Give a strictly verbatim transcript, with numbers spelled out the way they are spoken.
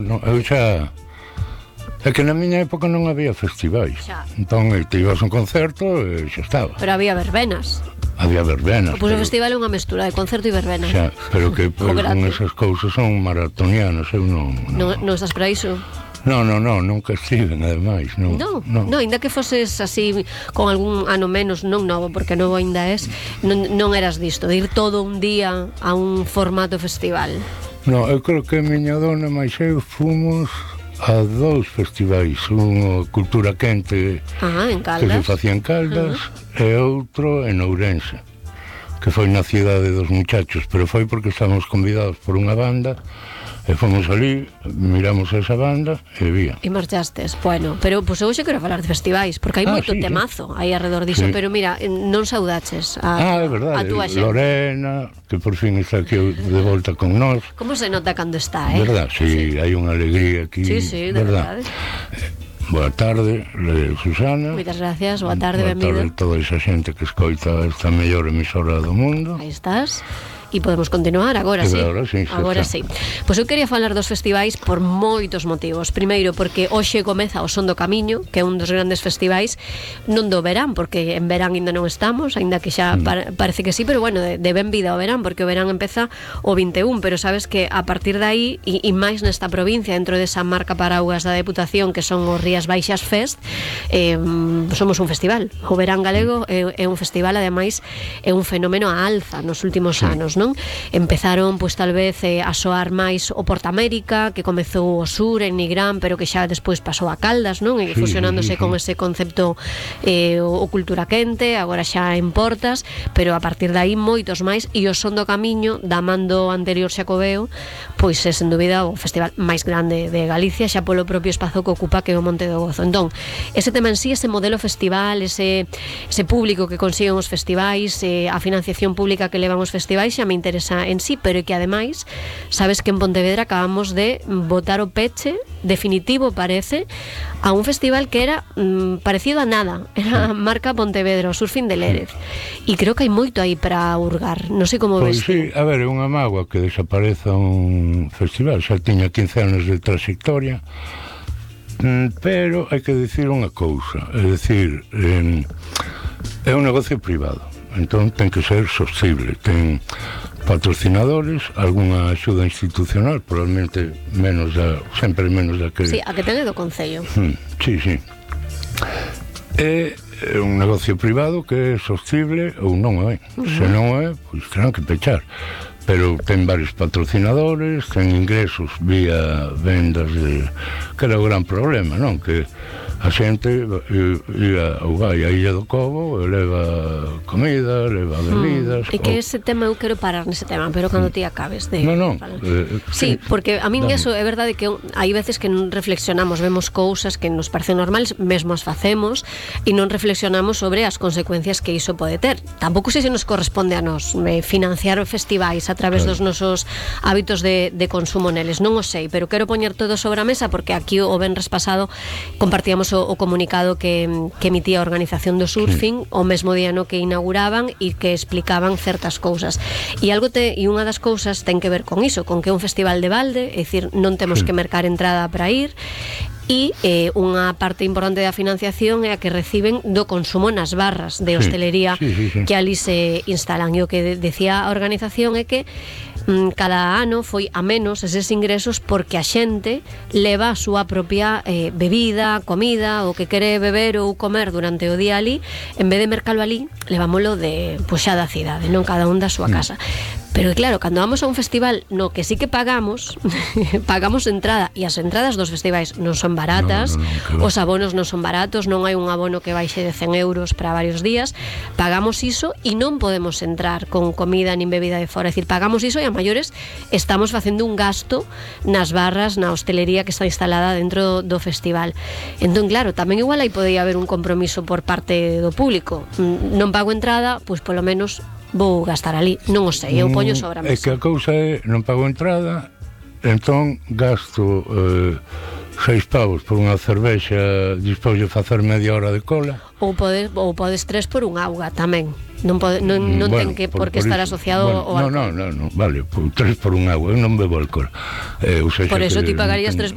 Non, eu xa... É que na miña época non había festivais. Xa. Entón, te ibas a un concerto e xa estaba. Pero había verbenas. Había verbenas. Pois o pero... festival é unha mestura de concerto e verbena. Xa, pero que pues, con esas cousas son maratonianas, eu non... Non, non estás para iso? Non, non, non, nunca estiven, ademais. Non, non, non. non, ainda que foses así con algún ano menos, non novo, porque novo ainda es, non, non eras disto, de ir todo un día a un formato festival. Non, eu creo que a miña dona máis eu fomos a dous festivais, un Cultura Quente ah, en que se facía en Caldas uh-huh. e outro en Ourense, que foi na cidade dos muchachos, pero foi porque estábamos convidados por unha banda e fomos ali, miramos esa banda e vía. E marchastes, bueno, pero pois pues, hoxe quero falar de festivais, porque hai ah, moito sí, temazo sí. aí alrededor diso, sí. pero mira, non saudaches a, ah, é verdade, a túa xente. Lorena, que por fin está aquí de volta con nós. Como se nota cando está, eh? Verdad, sí, sí. hai unha alegría aquí. Sí, sí, de verdade. Eh, boa tarde, Susana. Moitas gracias, boa tarde, boa benvida. Boa tarde a toda esa xente que escoita esta mellor emisora do mundo. Aí estás. E podemos continuar agora, sí. Agora sí, agora sí. Pois eu quería falar dos festivais por moitos motivos. Primeiro, porque hoxe comeza o Son do Camiño, que é un dos grandes festivais, non do verán, porque en verán ainda non estamos, ainda que xa mm. par- parece que sí, pero bueno, de, de ben vida ao verán, porque o verán empeza o vinte e un, pero sabes que a partir de aí, e, e máis nesta provincia, dentro desa marca paraugas da Deputación, que son os Rías Baixas Fest, eh, somos un festival. O verán galego é, é un festival, ademais, é un fenómeno a alza nos últimos sí. anos, non? Empezaron, pois tal vez eh, a soar máis o Porta América, que comezou o sur en Nigrán, pero que xa despois pasou a Caldas, non? E sí, fusionándose sí, sí. con ese concepto eh, o, o Cultura Quente, agora xa en Portas, pero a partir de aí moitos máis, e o Son do Camiño, da mando anterior Xacobeo, pois é sen dúbida o festival máis grande de Galicia, xa polo propio espazo que ocupa, que é o Monte do Gozo. Entón, ese tema en sí, ese modelo festival, ese, ese público que consiguen os festivais, eh, a financiación pública que levan os festivais, xa me interesa en sí, pero que ademais sabes que en Pontevedra acabamos de botar o peche definitivo, parece, a un festival que era mm, parecido a nada, era a marca Pontevedra, o Surfing de Lérez, e creo que hai moito aí para hurgar, non sei como pois ves. Sí, a ver, é unha mágoa que desapareza un festival, xa tiña quince anos de trayectoria, pero hai que dicir unha cousa, é dicir, eh, é un negocio privado, entón ten que ser sostible, ten patrocinadores, algunha axuda institucional, probablemente menos da, sempre menos da que... Sí, a que ten do Concello. Hmm, sí, sí. É un negocio privado que é sostible ou non é. Uh-huh. Se non é, pois terán que pechar. Pero ten varios patrocinadores, ten ingresos vía vendas de... que era o gran problema, non? Que a xente ia ou vai a Illa do Cobo e leva comida, leva bebidas. E que ou... ese tema, eu quero parar nese tema, pero cando ti acabes de... Non, non. Eh, sí, porque a min eso é verdade que hai veces que non reflexionamos, vemos cousas que nos parecen normales, mesmo as facemos, e non reflexionamos sobre as consecuencias que iso pode ter. Tampouco sei se nos corresponde a nos eh, financiar festivais a través claro. dos nosos hábitos de, de consumo neles, non o sei, pero quero poñer todo sobre a mesa, porque aquí o venres pasado compartíamos o, o comunicado que, que emitía a organización do surfing, sí. o mesmo día no que inauguraban e que explicaban certas cousas. E algo te, e unha das cousas ten que ver con iso, con que é un festival de balde, é dicir, non temos sí. que mercar entrada para ir, e eh, unha parte importante da financiación é a que reciben do consumo nas barras de hostelería sí, sí, sí, sí. que ali se instalan. E o que de, decía a organización é que mm, cada ano foi a menos eses ingresos porque a xente leva a súa propia eh, bebida, comida, o que quere beber ou comer durante o día ali, en vez de mercalo ali, levámolo de, pois xa da cidade, non cada un da súa casa. Pero claro, cando vamos a un festival no que sí que pagamos, pagamos entrada, e as entradas dos festivais non son baratas, no, no, no, os abonos non son baratos, non hai un abono que baixe de cen euros para varios días, pagamos iso e non podemos entrar con comida nin bebida de fora, é dicir, pagamos iso e a maiores estamos facendo un gasto nas barras, na hostelería que está instalada dentro do festival. Entón, claro, tamén igual aí podía haber un compromiso por parte do público. Non pago entrada, pois polo menos vou gastar ali, non o sei, eu poño sobre a mesa. É que a cousa é, non pago entrada, entón gasto eh, seis pavos por unha cervexa, dispois de facer media hora de cola. Ou podes, ou podes tres por un auga tamén. Non, pode, non, non bueno, ten que por, por que por estar iso, asociado bueno, ao alcohol. Non, non, non, vale, por, tres por un agua, eu non bebo alcohol. Eh, o sea, por eso ti pagarías ten... tres